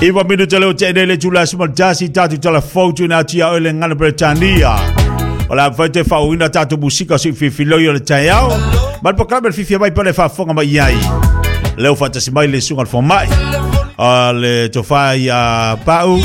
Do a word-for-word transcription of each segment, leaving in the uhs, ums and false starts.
Iwa minuta leo te le tula smaltasi tatu telefone tu na tia ole ngana Britania. Ola fai fa uina tatu musika si fifi loi o le taiao. Mal po klame fifi mai pale fa fonga mai ai. Leo fatasi mai le sunga fo mai. A le tofa ia pau.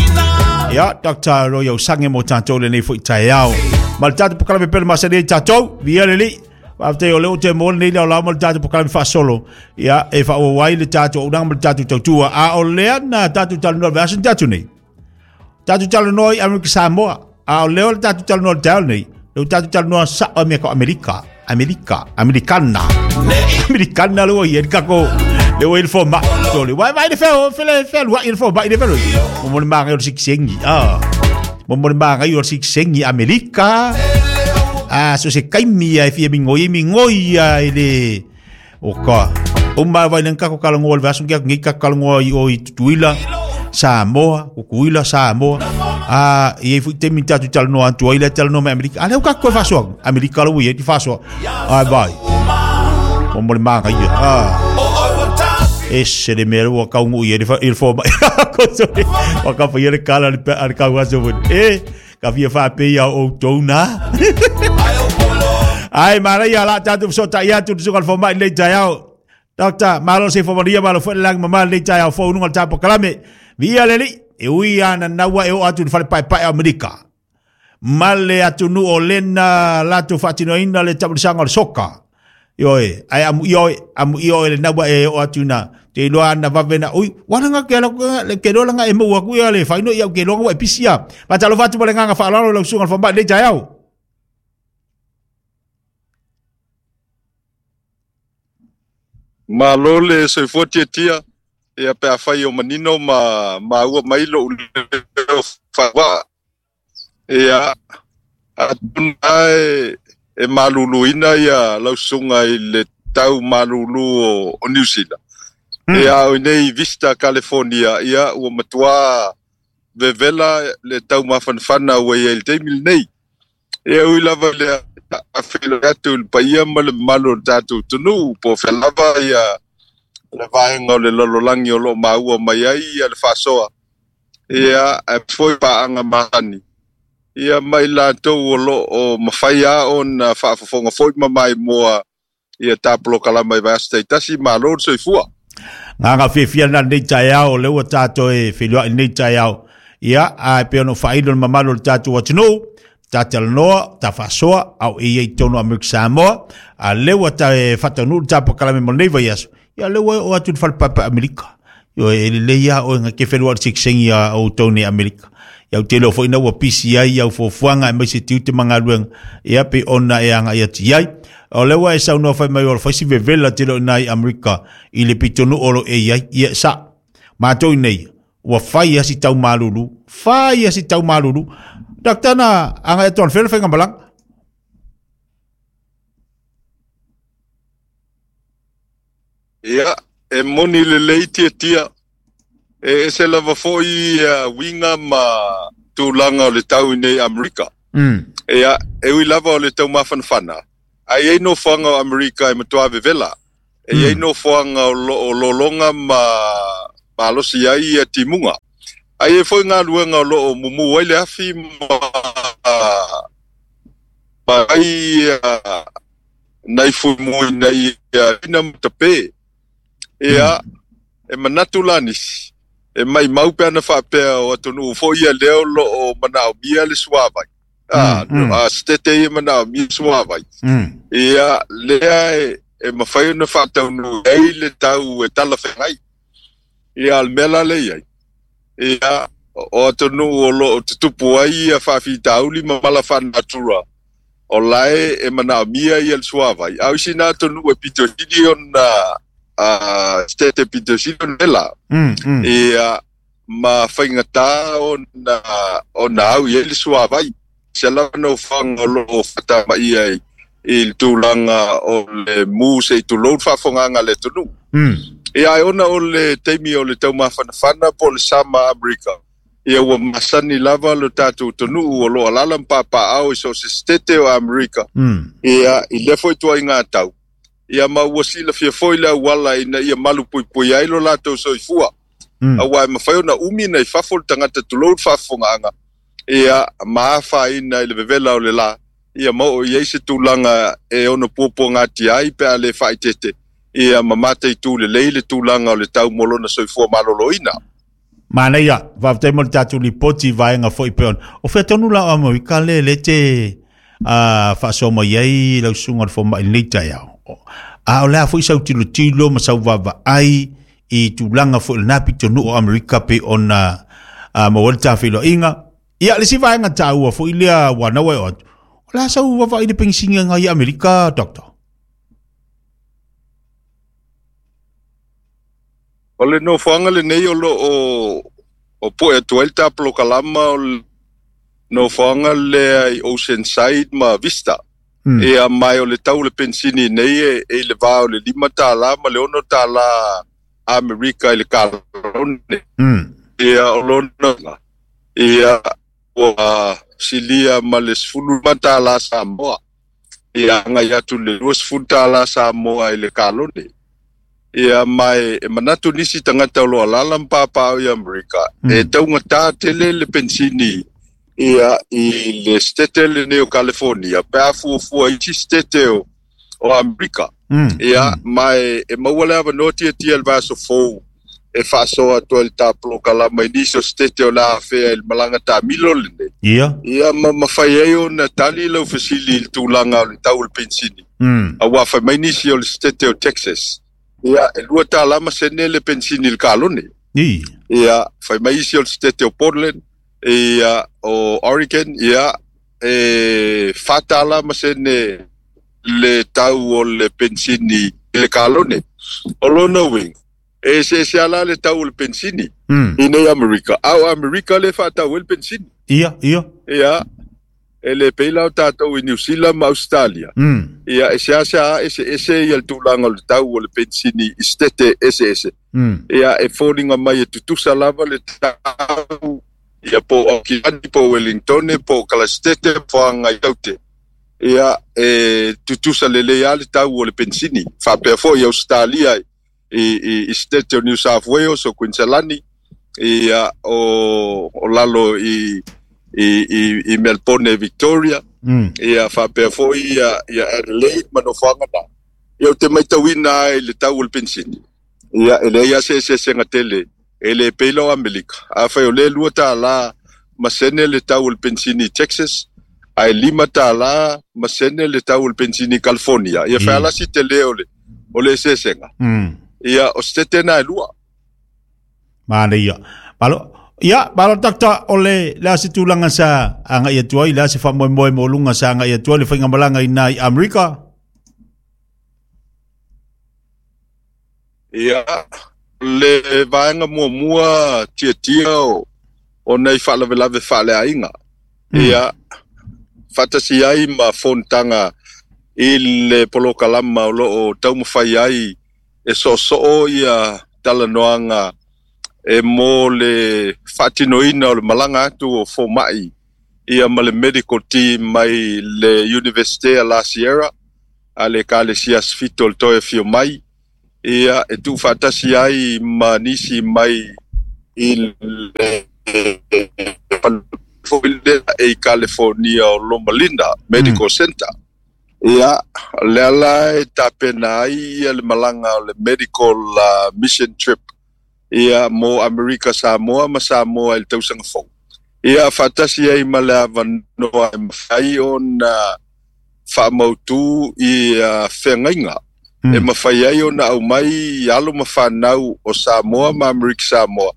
Ia Doctor Royal Sange mo tatou le nei foi taiao. Mal tatu po klame pele masani tatou. Via le li. After o leo te mo nei la mal tatu po klame fa solo. Ia e fa o wai le tatu o nang mal tatu tautua. A o lea na tatu talanoa vasa tatu nei. Tatu talanoa i Amerika Samoa. A o leo le tatu talanoa tau nei. Leo tatu talanoa sa o mea ko Amerika. Amerika. Amerikana. Amerikana lua i kako. Leo il fo ma. Tole. Wai vai le feo fele fele wa il fo ma il felo. Mo mo manga o siksengi. Ah. Mo mo manga o siksengi Amerika. Ah, so se kaimi ai fia mingoi mingoi ai le. Oka. O ma vai nang kako kalango le vasu kia ngi kako kalango i o i Tutuila Samoa, Kukuila Samoa. Ah, e fu te mi tatu talanoa atu ai le talanoa me Amerika. Ale o kako e fasoa. Amerika lo ia ti fasoa. Ai vai. Mo mo manga ia. Ah. Ese le mea ua kaungu ia il fo mai. Ko so wa ka fa ia le kala le al ka wa so. E ka fia fa pe ia o tona. Ai mara ia la tatu so ta ia tu so fo mai le taiao. Doctor malo se fo maria malo fo lang mama le taiao fo nu ngal tapo kalame. Via le li e ui ana naua e o atu fale pai pai Amerika. Male atu nu o lena latu fatinoina le tabulisanga o le soka. Ioi, ai amu ioi, amu ioi le naua e o atu na. Te iloa ana vavena, ui, wana ke ala le ke loa langa e maua ku ia le whaino ia ke loa e pisia. Patalo fatu mo le nganga whaalalo lau sunga whamai le taiao. Malo le soifua tiatia ia pe afai o manino ma ma ua mai lo leo whawa. Ia atuna e, e maluluina ia lausunga i le tau malulu o, o New Zealand. Mm. Ia o nei Vista California ia ua matua vevela le tau mafanfana ua ia il teimi nei. Ia ui lava le a whelo atu le paia ma le malo tātou tunu po whelava ia le vaenga o le lololangi o lo maua mai ai ia le whasoa. Ia e foi paanga mahani. Ia mai lātou o lo o mawhai o na whaafafonga foi mamai moa ia tāpolo kalama i vaasa teitasi malo le soifua. Nganga fiafia na nei taiao le ua tātou e whilua i nei taiao. Ia a pe ono whailo le mamalo le tātou atunuu. Ta talanoa, ta fasoa, au e iei tono Amerika Samoa, a lewa ta e whatanuu ta pakalame mo nei vai aso. Ia lewa o atu whale papa Amerika. Io e le ia o nga ke whenua siksengi a o tone Amerika. Ia o te leo fo ina ua pisi ai, ia o fuafuanga e mai se tiute mangaluenga. Ia pe ona e anga ia tiai. O lewa e saunoa whai mai o whaisi vevela te leo nai Amerika i le pitonu olo e iai. Ia sa, mātou nei, ua whai asi tau malulu, whai asi tau malulu. Doctor na anga eton fel fenga balang. Ia e moni le leiti tia e se lava foi uh, winga ma tūlanga o le tau nei Amerika. Mm. Ia e ui lava o le tau mafanfana. Ai e no fuanga o Amerika e matua vevela. E mm. e no fuanga o, lo, o lolonga ma malosi ai ia timunga. Ai e foi ngā luenga o loo mumu ai le afi ma ma ai nai fumui nai ina matape. Ia e manatu lanis e mai mau pe ana whapea o atonu fo ia leo loo manao mia le suavai. Ah, a stete ia manao mia suavai. Ia lea e, e mawhai ona whataunu ei le tau e tala whengai. Ia al mela le iai. Ia o atonu o lo o te tupu ai ia whawhitauli ma mala whanatura. O lae e manao mia ia le suavai. Au isi nā atonu e pito hili ona uh, stete pito hili ona la. Mm, mm. Ia ma whaingata o na, o na au ia le suavai. Se lana o whanga o lo o whatama ia i, i le tūlanga o le mū se i tūlou whawhonganga le tonu. Mm. Ia ai ona o le teimi o le tau mafanafana po le sama Amerika. Ia ua masani lava lo tātou tonu o lo alala mpapa au i so se stete o Amerika. Mm. Ia i lefo i tua i ngā tau. Ia ma ua sila fia foi le auala ina ia malu pui pui ai lo lātou soifua. Mm. Auā e mafai ona umi ona i fafo le tagata tulou le faafofogaaga ia ma afaina i le vevela o le lā ia ma oo i ai se tulaga e ono puapuagatia ai pe a lē faaeteete ia ma mataitū lelei le tulaga o le tau mo lona soifua malōlōina. Manaia, faafetai mo le tatou lipoti i vaega foi pei ona. O fea tonu la o Amerika le le te uh, faasoa mai ai lau susuga o le fomai i lenei taeao. A o le a foi sau tilotilo ma sau vaavaai i tulaga foi o lena pitonuu o Amerika pei ona uh, maua ai le tafeiloaiga. Ia, le isi vaega taua foi lea ua naua e oo atu. O le a sau vaavaai i le penisini agai i Amerika, Doctor? O le nofoaga lenei o loo o po'e atu ai le tapolokalama o le nofoaga lea i Oceanside ma Vista. Mm. Ia ma o le tau o le penisini nei e, e i le va o le lima tālā ma le ono tālā Amerika i le kalone. Mm. Ia o lona ia ua silia ma le sefulu lima tālā Samoa. Ia agai atu le lua sefulu tālā Samoa i le kalone. Ia ma e, e manatu nisi tagata o lo alala ma papaaao i Amerika Mm. e taugatā tele le penisini ia i le setete lenei o California pe a fuafua isi setete o, o Amerika. Mm. Ia ma e, e maua le avanoa tiatia le vaiaso fou e faasoa atu ai le tapolokalama i nisi o setete o le afea i le malaga taamilo lenei. Ia. Ia ma mafai ai ona tali lau fesili i le tulaga o le tau o le penisini. Mm. Auā fai mai nisi o le setete o Texas. Ia e lua tālā ma sene le penisini i le kalone. I. Ia fai mai isi o le setete o Portland, ia o Oregon, ia e fa tālā ma sene le tau o le penisini i le kalone. O lona uiga, e eseese ala le tau o le penisini Mm. i nei Amerika. A o Amerika le faatau ai le penisini. Ia, ia. Ia e le pei la o tatou i New Zealand ma Australia. Mm. Ia e seasea eseese ia le tulaga o le tau o le penisini i setete eseese. Mm. Ia e foliga mai e tutusa lava le tau ia po o Auckland, po o Wellington, po o Kalastete, po o Taute. Ia e tutusa lelei lava le tau o le penisini. Faapea foi i Australia i, i, i setete o New South Wales o Queensland, ia o, o lalo i i, i, i Melbourne Victoria. Mm. Ia faapea foi ia, ia Adelaide ma nofoaga na. Ia ou te matauina ai le tau o le penisini. Ia e leai lava se eseesega tele e le pei la o Amerika. Afai o lea lua tālā ma sene le tau o le penisini i Texas, ae lima tālā ma sene le tau o le penisini i California. Ia Mm. fealasi tele o le, o le eseesega. Mm. Ia o setete na e lua. Manaia. Malo, ia, malo Doctor, o le le a se tulaga sa agai atu ai, le a se faamoemoe maualuga sa agai atu ai le faigamalaga i nā i Amerika. Ia le vaega muamua tiatia o, o nei faalavelave faaleaiga. Mm. Ia faatasi ai ma fonotaga i le polokalama o loo taumafai ai e soosoo ia talanoaga e mo le faatinoina o le malaga atu o fomai ia ma le medical team mai le Université a La Sierra a le Ekalesia Sefito o le toe afio mai. Ia e tuufaatasi ai ma nisi mai i le foi lea e i California o Loma Linda Medical Mm. Center. Ia lea la e tapena ai ia le malaga o le medical uh, mission trip ia mo Amerika Samoa ma Samoa i le tausaga fou. Ia faatasi ai ma le avanoa e mafai ona faamautū ia feagaiga e Mm. mafai ai ona aumai i alo ma fanau o Samoa ma Amerika Samoa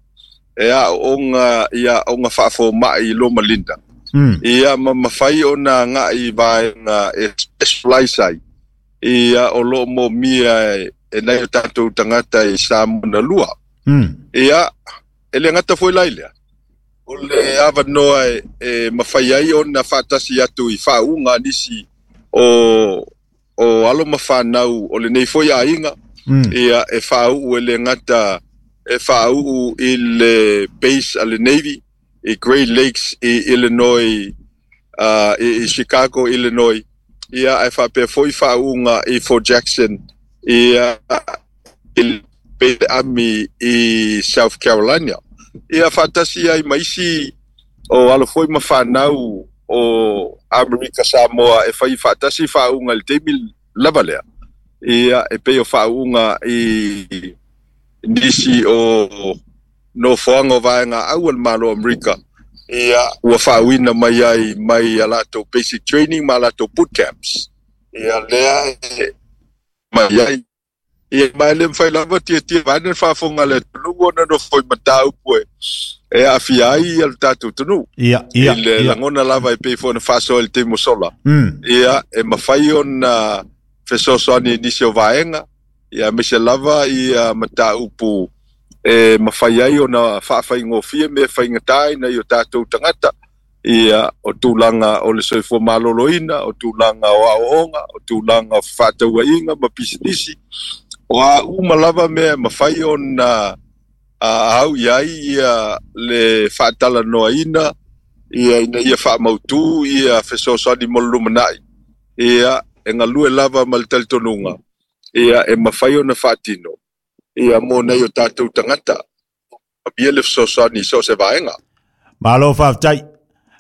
e aooga ia aoga faafoma'i i Loma Linda. Mm. Ia ma mafai ona aga'i i vaega e specialize ai ia o loo moomia e, e nai o tatou tagata i Samoa na lua. Mm. Ia e le gata foi lai lea. O le avanoa e, e mafai ai ona faatasi atu i faauuga a nisi o o alo ma fanau o lenei foi aiga. Mm. Ia e faauu e le gata e faauu i le base a le Navy i Great Lakes i Illinois, uh, i, i Chicago, Illinois. Ia e faapea foi faauuga i Fort Jackson ia i Pe ami i South Carolina. Ia faatasi ai ma isi o alo foi ma fanau o Amerika Samoa e fai faatasi faauga i le taimi lava lea. Ia e pei o faauga i nisi o nofoaga o vaega au o le Malo Amerika. Ia ua faauina mai ai mai a latou basic training ma latou boot camps. Ia lea e mai ai. Ia mai le mafai lava tiatia vaeane le faafofoga a le atunuu ona nofo i mataupu e e aafia ai ia le tatou atunuu. Ia, ia, I le ia. lagona lava e pei foi ona faasoa i le taimi ua sola. Mm. Ia e mafai ona fesoasoani i nisi o vaega, ia aemaise lava ia mataupu e mafai ai ona faafaigofie mea faigata ai nai o tatou tagata. Ia o tulaga o le soifua maloloina, o tulaga o aoaoga, o tulaga o fefaatauaiga ma pisinisi. O a uma lava mea e mafai ona au i ai ia le faatalanoaina ia ina ia faamautu ia fesoasoani mo le lumanai. Ia e galue lava ma le talitonuga. Ia e mafai ona faatino ia mo nai o tatou tagata. Ia le fesoasoani i so o se vaega. Malo faafetai.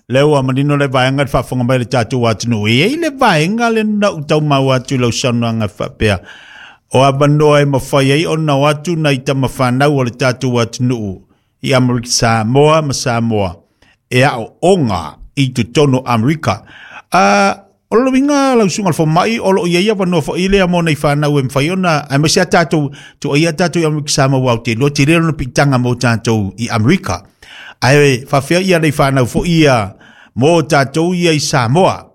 Le ua manino le vaega le faafofoga mai le tatou atunuu. E iai le vaega le na ou taumau atu i lau saunoaga faapea. O avanoa e mafai ai ona o atu nai tamafanau o le tatou atunuu i Amerika Samoa ma Samoa e aooga i totonu Amerika. Uh, o le uiga lau susuga i le fomai o loo iai avanoa foi lea mo nai fanau e mafai ona aemaise a tatou tuaia tatou i Amerika Samoa ua te iloa tele lona piitaga mo tatou i Amerika. Ae faafefea ia nei fanau foi ia mo tatou ia i Samoa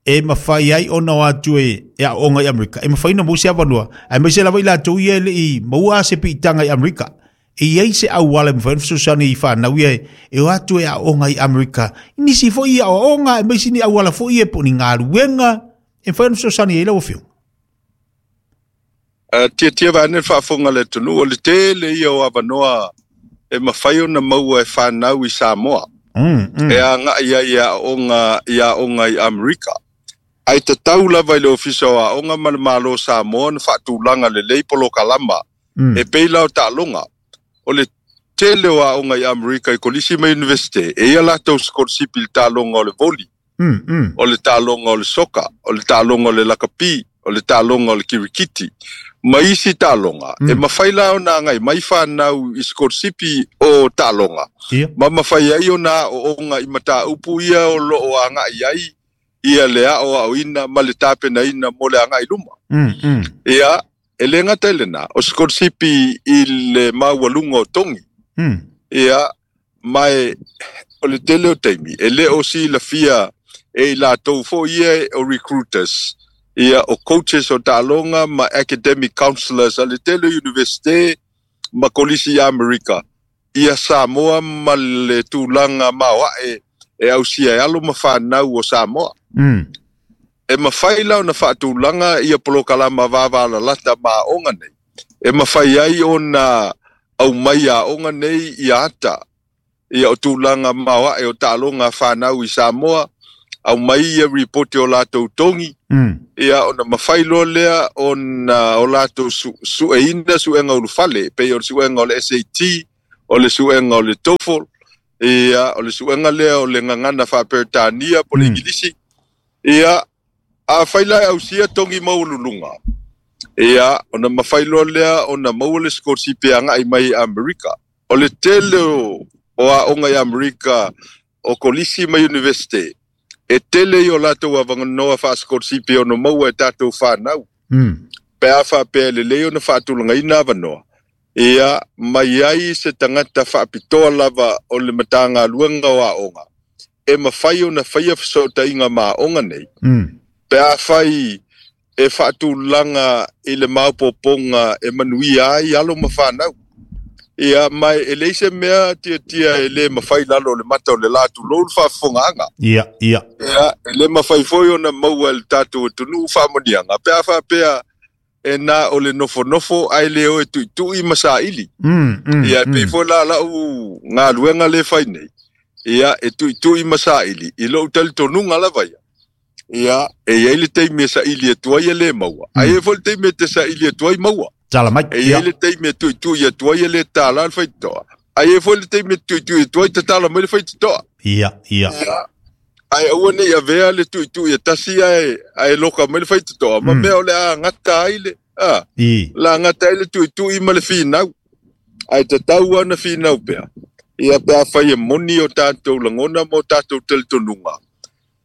e mafai ai ona o atu e e aooga i Amerika. E mafai ona maua se avanoa aemaise lava i latou ia e lei maua se piitaga i Amerika. E iai se auala e mafai ona fesoasoani i fanau ia e o atu e aooga i Amerika. Nisi foi ia aoaoga aemaise ni auala foi ia po o ni galuega e mafai ona fesoasoani ai lau afioga. Uh, tiatia vaeane le faafofoga a le atunuu o le tele ia o avanoa e mafai ona maua e fanau i Samoa. Mm, mm. E agai ai i aoga i aoga i Amerika. Ae tatau lava i le Ofisa o Aoga ma le Malo o Samoa ona faatulaga lelei polokalama Mm. e pei la o taaloga. O le tele o aoga i Amerika i kolisi ma universite, e ia latou sikolasipi i le taaloga o le voli, Mm, mm. o le taaloga o le soka, o le taaloga o le lakapi, o le taaloga o le kirikiti, ma isi taaloga. Mm. E mafai la ona agai mai fanau i sikolasipi o taaloga. Ia. Ma mafai ai ona aooga i mataupu ia o loo agai ai ia le aoaoina ma le tapenaina mo le agai luma. Mm, mm. Ia, e le gata i lena, o sikolasipi i le maualuga o togi. Mm. Ia, ma e, o le tele o taimi, e le o silafia e i latou foi ia o recruiters, ia o coaches o taaloga ma academic counselors a le tele o universite ma kolisi i Amerika. Ia Samoa ma le tulaga maoae e ausia e alo ma fanau o Samoa. Mm. E mafai la ona faatulaga ia polokalama vavalalata ma aoga nei. E mafai ai ona aumai aoga nei ia ata. Ia o tulaga maoae o taaloga a fanau i Samoa, aumai ia ripoti o latou togi. Mm. Ia ona mafai loa lea ona o latou su, sueina suega ulufale, pei o le suega o le S A T, o le suega o le TOEFL, ia o le suega lea o le gagana faaperetania po le Mm. Igilisi. Ia a fai la e ausia togi maualuluga. Ia ona mafai loa lea ona maua le sikolasipi agai mai i Amerika. O le tele o, o aoga i Amerika o kolisi ma universite, e tele i o latou avanoa faasikolasipi ona maua e tatou fanau. Mm. Pe a faapea e lelei ona faatulagaina avanoa. Ia mai ai se tagata faapitoa lava o le Matagaluega o Aoga e mafai ona faia fesootaiga ma aoga nei. Mm. Pe a fai e faatulaga i le maopoopoga e manuia ai alo ma fanau. Ia mai e leai se mea tiatia e le mafai lalo o le mata o le la tulou le faafofogaaga. Ia, ia. Ia, e le mafai foi ona maua e le tatou atunuu faamanuiaga. Pe a faapea e na o le nofonofo ae le o e tuitui ma saili. Mm, mm, Ia, pei mm. foi la lau galuega le fai nei. Ia, e tuitui ma saili i lou talitonuga lava ia. Ia, e iai le taimi e saili atu ai e le maua. Mm. Ae i ai foi le taimi e te saili atu ai maua. Tala mai. E i ai le taimi e tuitui atu ai e le tālā le faitotoa. Ai e foi le taimi e tuitui atu ai tatala mai le faitotoa. Ia, ia. Ai aua nei avea le tuitui e tasi ae, ae loka mai le faitotoa. Ma mea o le a gata ai le, a, la gata ai le tuitui ma le finau. Ai tatau ana finau pea. Ia pe a fai e moni o tātou langona mo tātou talitonuga.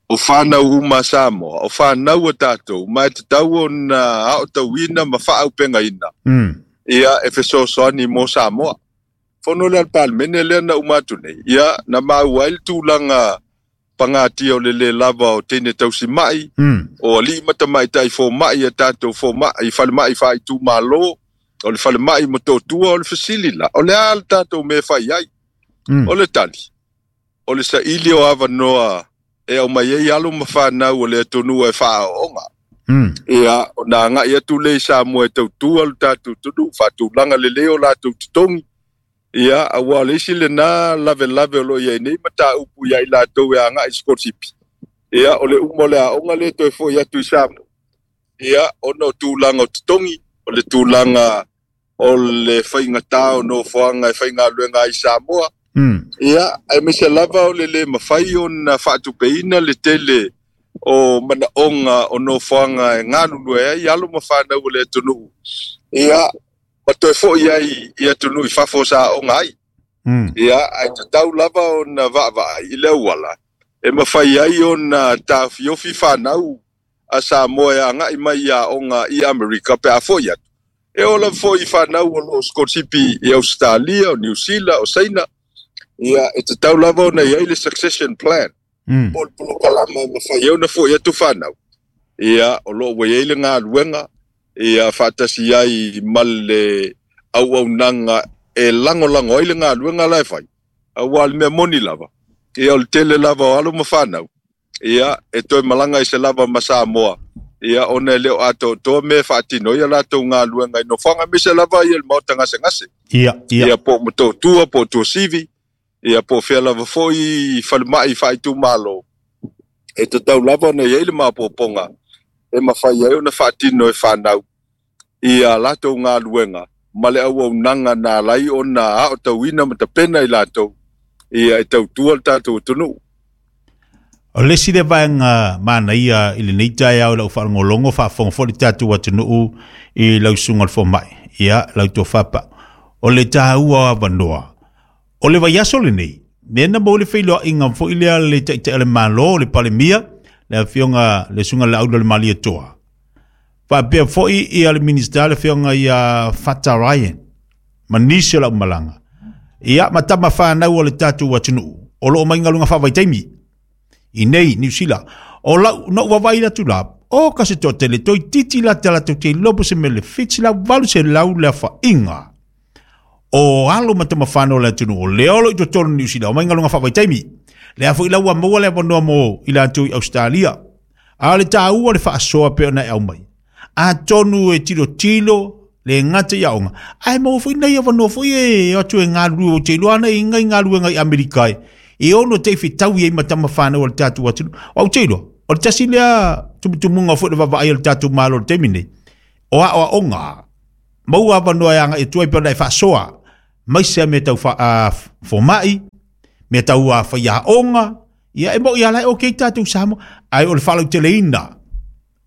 O whanau uma Samoa, o whanau o tātou, mai te tau o na ao tauina ma whaaupengaina. Mm. Ia e fesoasoani mo Samoa. Fono le alpalmene lea na uma atu nei. Ia na mau ai le tulaga pangatia o le le lava o teine tausimai, mm. o alii ma tamaitai fomai a tātou fomai, falemai faaitumālō, o le falemai motōtua o le fesili la. O le a le tātou mea fai ai. Mm. O le tali. O le saili o avanoa e au mai ai alo ma whanau o le atunuu e whaaonga. Mm. Ia, o nā ngai atu le i Samoa e tautua lo tātou tunu, whaatulanga le leo lātou tutongi. Ia, a wā le isi le nā lave lave o lo ia nei ma tā upu ia i lātou e a ngai skorsipi. Ia, o le umo le aonga le toe fo i atu i Samoa. Ia, o no tūlanga o tutongi, o le tūlanga o le whaingatā o no whaanga e whainga luenga i Samoa. Mm. Ia, ai me se lava o le le mawhai o na whaatupeina le tele o manaonga o no whaanga e ngālulu e ai alo mawhanau o le atunuu. Ia, ma toe foi ai i atunuu i fafo sa onga ai. Mm. Ia, ai te tau lava o na vaavaa i le uala. E mawhai ai o na tāwhiofi whanau a Samoa e angai mai ia onga i Amerika pe a foi atu. E ola foi whanau o lo Skorsipi i Australia, o New Zealand, o Saina. Ia, e te tau lava ona iai le succession plan. Mm. Po le polokalama ma whai au na foi atu whanau. Ia, o loo wai ai le ngā luenga, ia whaatasi ai ma le au au nanga e lango lango ai le ngā luenga lai whai. A wā le mea moni lava. Ia, o le tele lava o alo ma whanau. Ia, e toi malanga i se lava ma Samoa. Ia, ona e leo ato toa me whaatino ia lātou ngā luenga i no whanga me se lava ia le maota ngase ngase. Ia, ia. Ia, po matotua, po tuasivi. Ia po fea lava foi falemai faaitumālō. E tatau lava ona iai le mapopoga e mafai ai ona faatino e whanau ia latou galuega ma le auaunaga na alai ona aotauina ma tapena i latou ia e tautua le tatou atunuu. O le isi le vaega manaia i lenei taeao i lau faalogologo faafofoga foi le tatou atunuu i lau susuga o le fomai, ia lau tofapa. O le taua o avanoa. O le vaiaso lenei, nena mo le feiloaiga foi lea le taitai o le Malo, le Palemia, le afioga le susuga le Aula le Malietoa. Faapea foi ia le Minista le afioga ia Fata Ryan, ma nisi o lau malaga. Ia ma tama whanau o le tatou atunuu, o loo mai galuega faavaitaimi i nei Niu Sila. O lau no vavai atu la, o ka se toatele toeitiiti la te latou te iloa po se mea le fiti lau valu selau le afa'iga. O alo ma tama whanau o le atunuu, o le olo i totonu Niu Sila, o mai galuega faavaitaimi. Le a foi lau maua le avanoa mo i latou i Australia. A o le tāua le faasoa pe ona e au mai. Atonu e tilotilo le gata i aoga. Ae maua foi nei avanoa foi e atu e galulue o te iloa ana e iga i galuega i Amerika e. E ono te fetaui ai ma tama whanau o le tatou atunuu. O au te iloa, o le tasi lea tumutumuga foi le vaavaai o le tatou Malo o le taimi nei. O aoaoga, maua avanoa e aga'i atu ai pe ona e faasoa. Mai sea mea tau fomai, mea tau faiaoga, ia e mo'i ala e okay tatou Samoa. Ae o le faalauteleina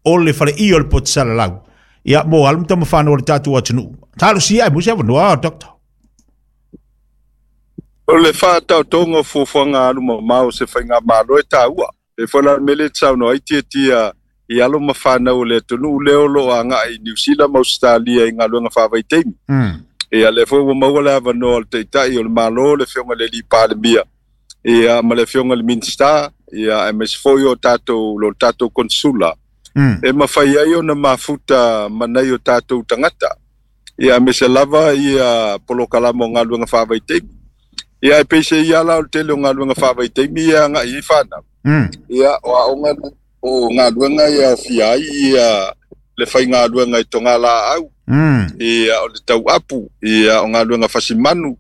o le faleia o le poto salalau. Ia mo alo ma tama whanau o le tatou atunuu. Talosia e mo se avanoa, Doctor. O le whaatautonga o fuafuaga alu mamao se faigamalo e tāua. E foi la mele saunoa ai tiatia i alo ma whanau o le atunuu lea o loo aga'i i Niu Sila ma Australia i galuega faavaitaimi. Mm. Ia le foi ua maua le avanoa o le taitai o le Malo, le afioga i le alii Palemia, ia ma le afioga i le Minista, ia aemaise foi o tatou lo tatou konsula. Mm. E mafai ai ona mafuta ma nai o tatou tagata. Ia aemaise lava ia polokalama o galuega faavaitaimi. Ia e peise ia la o le tele o galuega faavaitaimi ia aga'i ai whanau. Mm. Ia o aoga o galuega ia aofia ai ia le faigaluega i togalaau. Mm. Ia o le tauapu, ia o galuega fasimanu,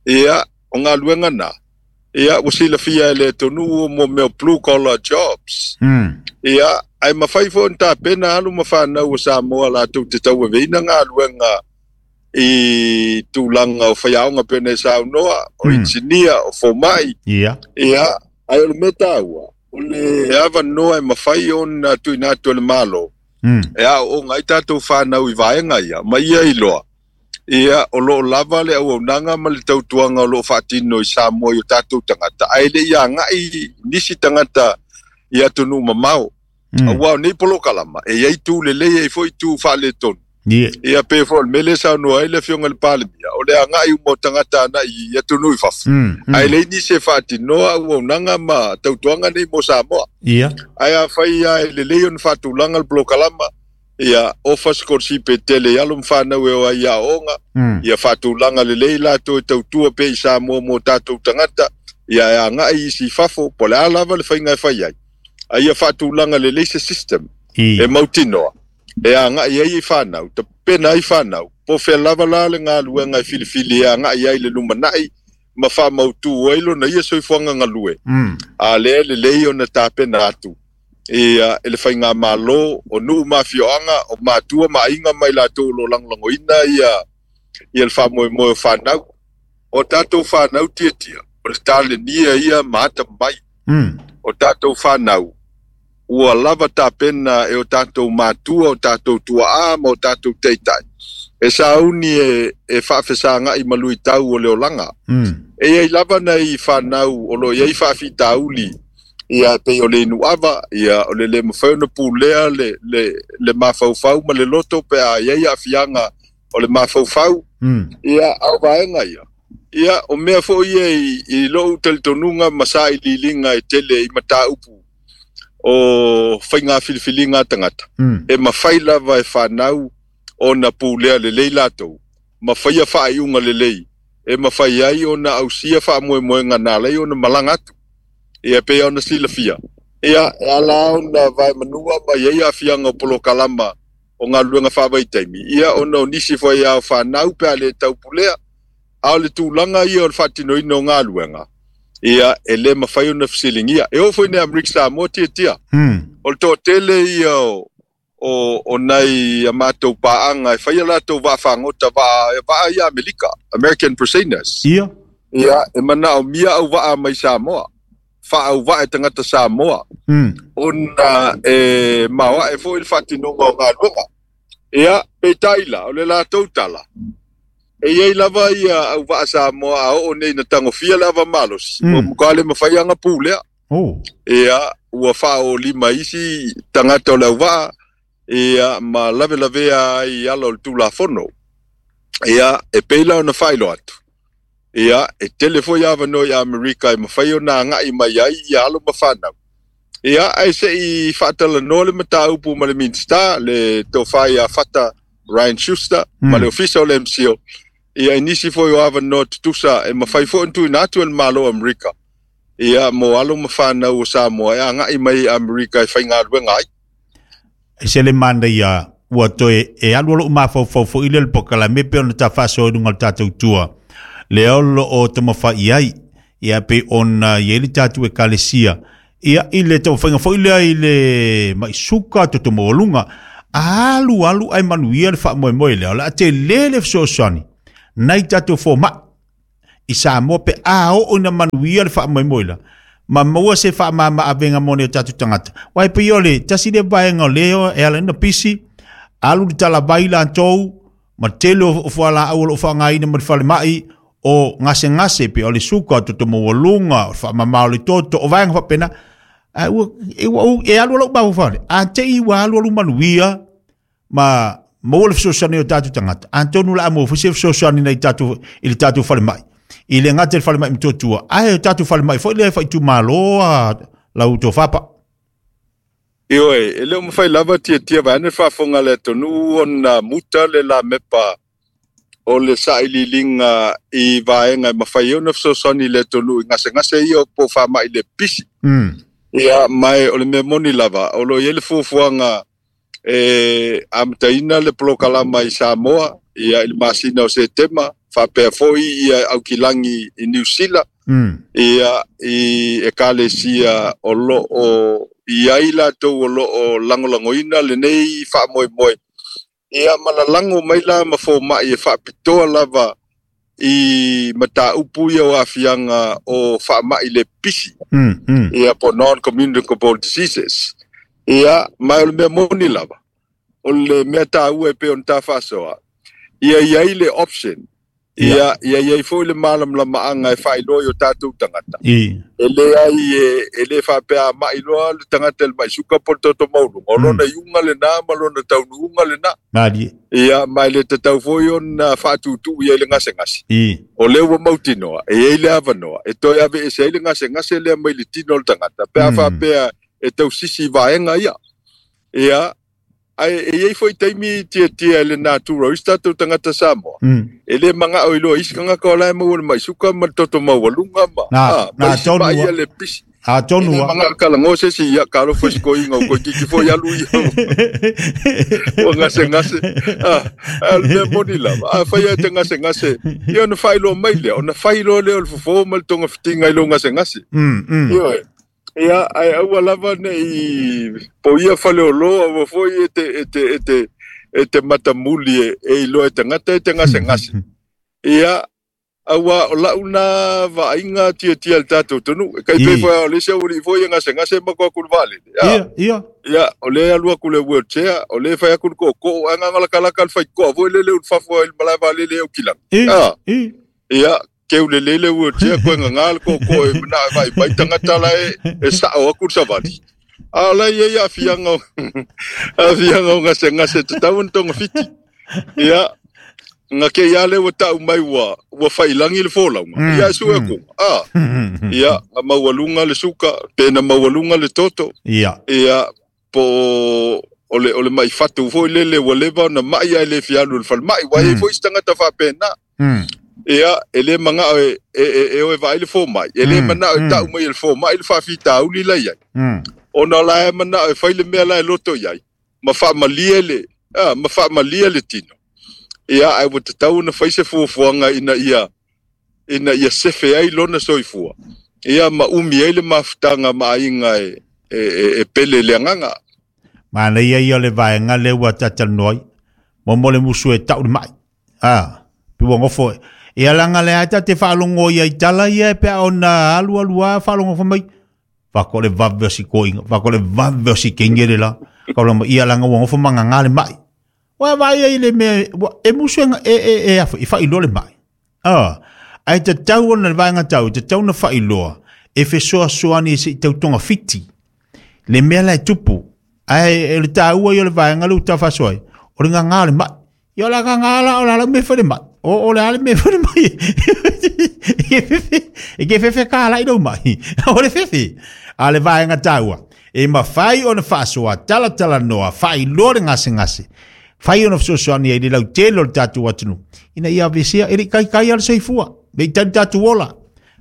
ia o galuega na. Ia ua silafia e le atunuu mo mea o blue collar jobs. Mm. Ia ai mafai foi ona tapena alu ma whanau o Samoa latou te tauaveina galuega I tulaga o faiaoga pei ona e saunoa, o Mm. inisinia, o fomai. Ia. Ia, ae o le mea taua, o le avanoa e mafai ona tuuina atu e le Malo Mm. e aooga ai tatou fanau i vaega ia, ma ia iloa ia o loo lava le auaunaga ma le tautuaga o loo faatino i Samoa i o tatou tagata, ae le i agai nisi tagata i atunuu mamao. Mm. Auā o nei polokalama e iai tu lelei, ai foi tu faaletonu. Ia. Ia, pe foi o le mea lea saunoa ai le afioga i le Palemia, o le agai uma o tagata anai i atunuu i fafo, Mm. Mm. ae leai nisi e faatinoa auaunaga ma tautuaga nei mo Samoa. Ia. Ae afai a e lelei ona faatulaga le polokalama, ia ofa sikolasipi e tele i alo ma fanau e o ai i aooga, Mm. ia faatulaga lelei latou e tautua pea i Samoa mo tatou tagata, ia e agai isi i fafo, po o le a lava le faiga e fai ai, a ia faatulaga lelei se system I. e mautinoa e agai ai i fanau, tapena ai fanau, po fea lava la le galuega e filifili e agai ai le lumanai ma faamautū ai lona ia soifuaga galue. Mm. A lea lelei ona tapena atu ia e le faigamālō o nuu ma afioaga, o matua ma aiga mai latou o lo lagolagoina ia ia le faamoemoe o fanau, o tatou fanau tiatia, o le talenia ia ma atamai. Mm. O tatou fanau ua lava tapena e o tatou matua, o tatou tuaā ma o tatou taitai e sauni e, e faafesagai ma luitau o le olaga. Mm. E iai lava nai fanau o loo iai faafitauli, ia pei o le inuava, ia o le lē mafai ona pulea le, le, le mafaufau ma le loto pe a iai aafiaga o le mafaufau. Mm. Ia a o vaega ia, ia o mea foi ia i, i lou talitonuga ma sailiiliga e tele i mataupu o faiga filifiliga a tagata, Mm. e mafai lava e fanau ona pulea lelei latou ma faia faaiuga lelei e mafai ai ona ausia faamoemoega na alai ona malaga atu. Ia pei ona silafia, ia e ala ona vaemanua ma iai aafiaga o polokalama o galuega faavaitaimi, ia ona o nisi foi ao fanau pe a le taupulea, a o le tulaga ia o le faatinoina o galuega ia e lē mafai ona fesiligia. E oo foi nei Amerika Samoa tiatia, Mm. o le toatele ia o o o nai a matou paaga e faia latou vaafagota vaa vaa ia Amerika, American purse seiners. Ia. Ia e manaomia auvaa mai Samoa, faauvaa e tagata Samoa, Mm. ona e maoae foi le faatinoga o galuega. Ia peitai la o le latou tala, e iai lava ia auvaa Samoa a oo nei na tagofia le ava malosi, Mm. ua matua le mafai aga pulea. Oh. Ia ua faaolima isi tagata o le auvaa, ia ma lavelavea ai ala o le tulafono. Ia e pei la ona faailoa atu, ia e tele foi avanoa i Amerika e mafai ona agai mai ai ia alo ma fanau. Ia ae seʻi faatalanoa le mataupu ma le Minista, le tofa ia Fata Ryan Schuster, Mm. ma le ofisa o le M C O, ia i nisi foi o avanoa tutusa e mafai foi ona tuuina atu e le Malo o Amerika, ia mo alo ma fanau o Samoa e agai mai i Amerika e faigaluega ai. E se le manda ia ua toe e alu alo mafaufau foi le polokalame pe ona ta faasoa i luga o le tatou tua. Le olo o taumafai ai, ia pe ona i ai le tatou ekalesia. Ia i le taumafaiga foi lea i le maisuka toto maualuga. Alu alu ai manuia le faamoemoe lea. O le a tele le fesoasoani nai tatou fomai i Samoa pe a oo ina manuia le faamoemoe la. Ma maua se faamama avega mo nei o tatou tagata. Uae pei o le tasi le vaega o lea e ala ai ona pisi, alu le talavai latou, ma tele o fualaau o loo faaaogaina ma le falemai, o gasegase pe o le suka, o toto maualuga, o le faamama o le toto, o vaega faapena. Ae ua e, ua, e alu lou mafaufau le. A te i ua alu alu manuia ma maua le fesoasoani o tatou tagata. Atonu la maua foi se fesoasoani nei tatou i le tatou falemai. I le gata i le falemai Motootua, ae o tatou falemai foi lea e faaitumalo a lau tofapa. Ioe, e le o mafai lava tiatia vaeane le faafofoga a le atunuu ona muta le lamepa o le sailiiliga i vaega e mafai ai ona fesoasoani i le atunuu i gasegase ia po o faamai le pisi. Mm. Ia, ma o le mea moni lava, o loo i ai le fuafuaga e amataina le polokalama i Samoa, ia i le masina o Setema, faapea foi ia Aukilagi i Niu Sila, Mm. ia i ekalesia o loo i ai latou o loo lagolagoina lenei faamoemoe. Ia malalago mai la ma fomaʻi e faapitoa lava i mataupu ia o aafiaga o faamaʻi le pisi Mm, mm. ia po non communicable diseases. Ia ma o le mea moni lava o le mea taua e pei ona tafaasoa ia iai le option ia ia iai foi le malamalamaʻaga e faailoa i o tatou tagata I. e leai e, e lē faapea maʻi loa le tagata i le mai suka po le toto maualuga o lona iuga lenā ma lona taunuuga lenā Mali. ia ma e le tatau foi ona faatūtū ia i le gasegase I. o lea ua mautinoa e iai le avanoa e toe ave ese ai le gasegase lea mai le tino o le tagata pe a Mm. faapea e tausisi i vaega ia ia ae e iai foi taimi tiatia i le natura o isi tatou tagata Samoa Mm. e lē magaʻo iloa isi tagata o la e maua le mai suka ma le toto maualuga ma Na- ah, na ma isi tonu maʻi a- ia le pisi A e tonu lē a. magaʻo kalago se isi ia kalofa sikoiga o koikiki foi alu ia ua gasegase ah, a le mea moni lava a fai e te gasegase ia ona faailoa mai lea ona fai loa lea o le fofo ma le togafitiga i lou gasegase Mm, mm. ioe ia ae aua lava neʻi po ia faleolō aua foi e te e te e te e te matamuli e e iloa e tagata e te gasegase ia aua o lau na vaaiga tiatia le tatou tonu e kai I. pei foi o le isi aualii foi e gasegase ma ko aku le vaalele Ia, Ah, ia. ia o le alu aku le wheelchair o le fai aku le kookoo ae gagalakalaka le faikoa foi le leu le fafo ai le malae vaalele e aukilaga I. Ah. I. ia keu lelei le wheelchair koe gagā le kookoo e manaʻo e vaivai tagata la e e saʻo aku le savali a o la iai aafiaga o aafiaga o gasegase tatau ona togafiti ia ga ke ia le ua taʻu mai ua ua failagi le folauga Mm, ia e sue mm. akuga a ia ga maualuga le suka pe na maualuga le toto Ia. ia po o le o le mai fatu foi lele ua leva ona maʻi ae le fialu i le falemaʻi ua iai Mm. foi se tagata faapena Mm. ia e lē magaʻo e e e e o e vaai le fomai e lē Mm, manaʻo e mm. taʻu mai e le fomai le faafitauli la iai Mm. ona la e manaʻo e fai le mea la e loto iai ma faamalie le a ma faamalie le tino ia ae ua tatau ona fai se fuafuaga ina ia ina ia sefe ai lona soifua ia ma umi ai le mafutaga ma aiga e e, e, e pele le agaga Mana ia ia o le vaega le ua tatalanoai. Mo mo le musu e tau le mai. Ah, pi ua ngofo e. Ia langa le ata te whaalongo ia i tala ia e pea ona alu alu a whaalongo fa mai. Whako le vave o si koinga, whako le vave o si kengere la. Ka ma ia langa ua ngofo manga ngā le mai. Wa vai ia i le mea, wa- e musu e, e, e, e, e, i whailoa le mai. Ah, ai te tau ona le vaega tau, te tau na whailoa, e fesoa soani e se i tautonga fiti. Le mea la e tupu, ai e le tāua i o le vaega le uta fasoai, o le ngā le mai. Ia o la ngā la o la la me whare mai. O, o le ale me whare mai. E ke fefe, e ke fefe ka la i rau mai. O le fefe. A le vaega tāua. E mawhai o na whaasoa, tala tala noa, whai loa le ngase ngase. Whai o na fesoasoani ai le lau tele o le tātou atunu. Ina ia avesia, e le kai kai ala seifua. Me i tani tātou ola.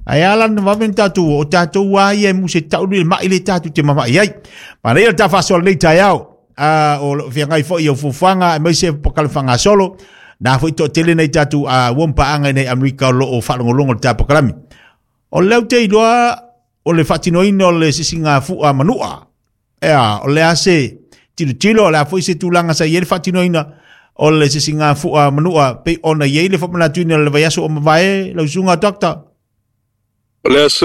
Ai ala na wawe tātou o tātou wā ia e muse taulu le mai le tātou te mama i ai. Mana ia le tā whasoa nei tai ao. Uh, o whiangai fo i o fufuanga e maise pakalawhanga solo. Nā foi to tele nei tātou a uh, wampaanga nei Amerika o lo o whalongolongo le tā pakalami. O leo te iloa o le whatinoina o le sisinga fua manua. Ea, o le ase tilo tilo o le a foi se tūlanga sa i e le whatinoina o le sisinga fua manua pe ona iei le whamanatuina o le vaiaso o mavae lau sunga doctor. O le aso